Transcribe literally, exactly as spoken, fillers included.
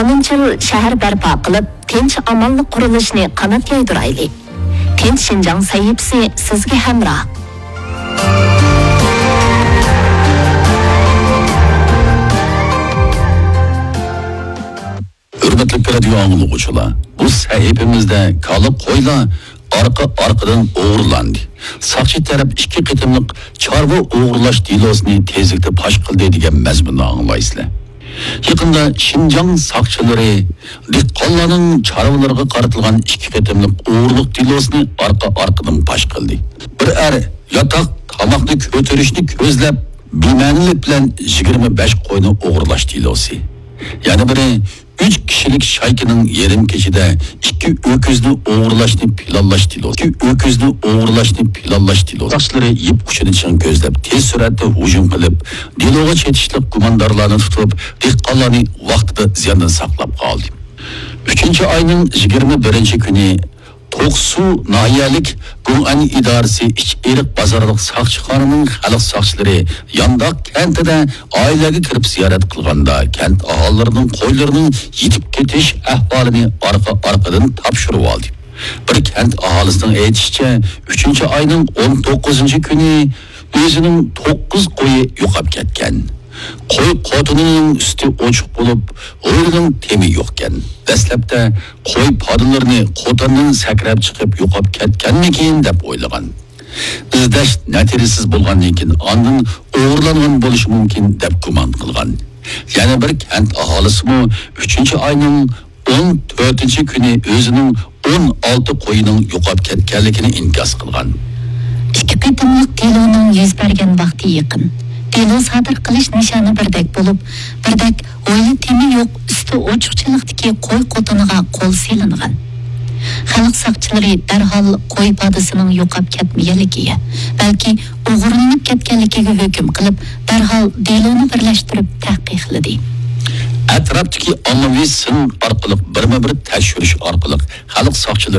ئونىنچى يىل شەھەر بەرپا قىلىپ، تىنچ-ئامانلىق قۇرۇلۇشىنى قانات يايدۇرايلى. تىنچ شىنجاڭ سەھىپىسى سىزگە ھەمراھ. ھۆرمەتلىك رادىيو ئاڭلىغۇچىلار، بۇ سەھىپىمىزدە كالا قويلار ئارقا-ئارقىدىن ئوغرىلاندى. ساقچى تەرەپ ئىككى قېتىملىق چارۋا ئوغرىلاش دېلوسىنى تېزلىكتە پاش قىلدى دېگەن مەزمۇننى ئاڭلايسىلەر. يېقىندا شىنجاڭ ساقچىلىرى دېھقانلارنىڭ چارۋىلىرىغا قارىتىلغان ئىككى قېتىملىق ئوغرىلىق دېلوسىنى ئارقا-ئارقىدىن پاش قىلدى. بىر ئەر ياتاق تاماقنى كۆتۈرۈشنى كۆزلەپ، بىمەنىلىك بىلەن يىگىرمە بەش قوينى ئوغرىلاش دېلوسى. يەنە بىرى، ئۈچ كىشىلىك شايكىنىڭ يېرىم كېچىدە ئىككى ئۆكۈزنى ئوغرىلاشنى پىلانلاش دېلوسى. ئىككى ئۆكۈزنى ئوغرىلاشنى پىلانلاش دېلوسى. ساقچىلىرى يىپ ئۇچىنى چىڭ كۆزلەپ، تېز سۈرئەتتە ھۇجۇم قىلىپ، دېلوغا چېتىشلىق گۇماندارلارنى تۇتۇپ، دېھقانلارنى ۋاقتىدا زىياندىن ساقلاپ قالدى. ئۈچىنچى ئاينىڭ يىگىرمە بىرىنچى كۈنى توقسۇ ناھىيەلىك گۇڭئەن ئىدارىسى ئىچ ئېرىق بازارلىق ساقچىخانىنىڭ خەلق ساقچىلىرى يانداق كەنتىدە ئائىلىگە كىرىپ زىيارەت قىلغاندا، كەنت ئاھالىلىرىنىڭ قويلىرىنىڭ يېتىپ كېتىش ئەھۋالىنى ئارقا-ئارقىدىن تاپشۇرۇۋالدى. بىر كەنت ئاھالىسىنىڭ ئېيتىشىچە، ئۈچىنچى ئاينىڭ ئون توققۇزىنچى كۈنى ئۆزىنىڭ توققۇز قويى يوقاپ كەتكەن. قوي قوتىنىنىڭ ئۈستى ئوچۇق بولۇپ، ھويلىنىڭ تېمى يوقكەن. دەسلەپتە قوي پادىلىرىنى قوتاننىڭ سەكرەپ چىقىپ يوقاپ كەتكەنمىكىن دەپ ئويلىغان. ئىزدەش نەتىجىسىز بولغاندىن كېيىن ئاندىن ئوغرىلانغان بولۇشى مۇمكىن دەپ گۇمان قىلغان. يەنە بىر كەنت ئاھالىسىمۇ ئۈچىنچى ئاينىڭ ئون تۆتىنچى كۈنى ئۆزىنىڭ ئون ئالتە قويىنىڭ يوقاپ كەتكەنلىكىنى ئىنكاس قىلغان. ئىككى قېتىملىق دېلونىڭ يۈز بەرگەن ۋاقتى يېقىن. دېلو سادىر قىلىش نىشانى بىردەك بولۇپ، بىردەك ھويلا تېمى يوق، ئۈستى ئوچۇقچىلىقتىكى قوي قوتىنىغا قول سېلىنغان. خەلق ساقچىلىرى دەرھال قوي پادىسىنىڭ يوقاپ كەتمىگەنلىكىگە، بەلكى ئوغرىلىنىپ كەتكەنلىكىگە ھۆكۈم قىلىپ، دەرھال دېلونى بىرلەشتۈرۈپ تەھقىقلىدى. ئەتراپتىكى ئاممىۋى سىن ئارقىلىق بىرمۇبىر تەكشۈرۈش ئارقىلىق خەلق ساقچىلىرى